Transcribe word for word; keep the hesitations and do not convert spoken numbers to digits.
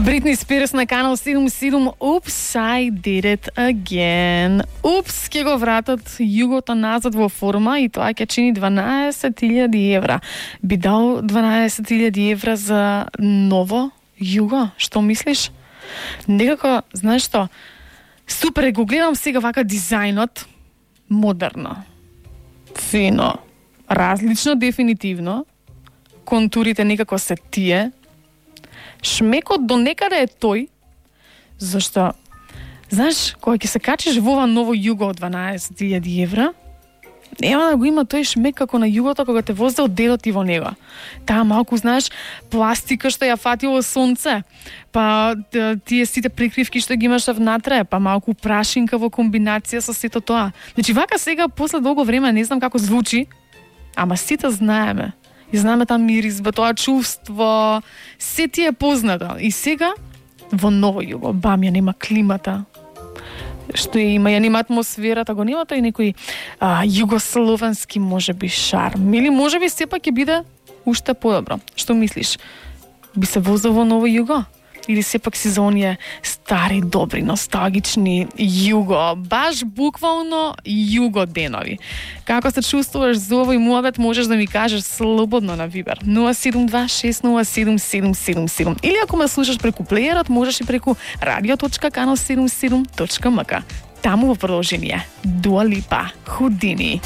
Britney Spears на канал седум седум. Oops, I did it again. Упс, ќе го вратат југото назад во форма и тоа ќе чини дванаесет илјади евра. Би дал дванаесет илјади евра за ново југо? Што мислиш? Некако, знаеш што, супер, го гледам сега вака дизајнот, модерно, фино, различно дефинитивно, контурите некако се тие, шмекот до некаде е тој, зашто, знаеш, кога ќе се качиш во ова ново југо од дванаесет илјади евра, нема да го има тој шмек како на југото кога те возде од дедот ти во него. Таа малку, знаеш, пластика што ја фатило сонце, па тие сите прикривки што ги имаш внатре, па малку прашинка во комбинација со сето тоа. Значи, вака сега, после долго време, не знам како звучи, ама сите знаеме. И знаеме таа миризба, тоа чувство, се ти е познато. И сега, во ново југо, бам, ја нема климата, што ја има, ја нема атмосферата, го нема тој некој а, југословенски можеби шарм. Или можеби сепак ќе биде уште подобро. Што мислиш? Би се возил во ново југо? Или сепак си за оние стари, добри, носталгични југо, баш буквално југо денови? Како се чувствуваш за овој муабет, можеш да ми кажеш слободно на Вибер нула седум два шест нула седум седум седум седум. Или ако ме слушаш преку плеерот, можеш и преку радио точка канал седум седум точка ем ка. Таму во продолжение Дуа Липа, Houdini.